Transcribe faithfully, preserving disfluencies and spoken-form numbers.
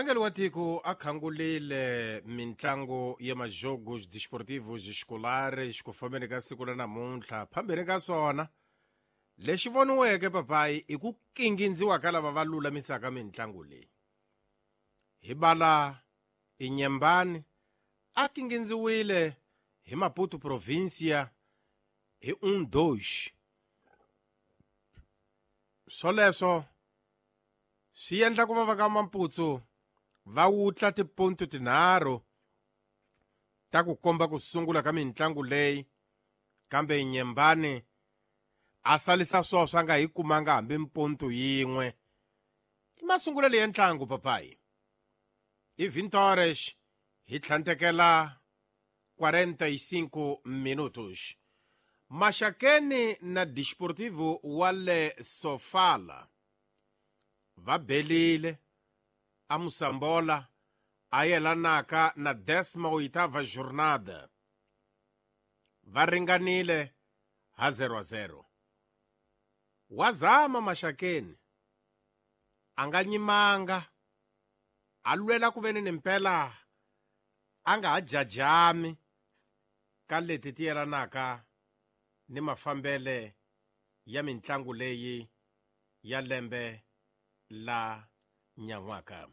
Murhangeri wa tiko a khangulile mintlangu ya majogos desportivos escolares ku fambeni ka siku ra namuntlha. Phambeni ka swona, lexi voniweke papayi i ku kingindziwa ka lava va lulamisaka mintlangu leyi. Hi bala Inhambane a kingindziwile hi Maputo Provincia hi um dois. Swoleswo swi endla ku va va ka Maputo va wutla tiponto tinharhu ta ku komba ku sungula ka mintlangu leyi, kambe Inhambane a salisa swoswo a nga yi kumanga hambi mponto yin'we. I masungulelo ya ntlangu papayi. I vinte horas hi tlhantekela quarenta e cinco minutos. Maxakeni na Desportivo wa le Sofala va belile a Moçambola a yelanaka na décima oitava jornada. Va ringanile ha zero a zero. Wa zama Maxakeni a nga nyimanga, a lwela ku veni ni mpela a nga ha jajami ka leti ti yelanaka ni mafambele ya mintlangu leyi ya lembe la nyan'waka.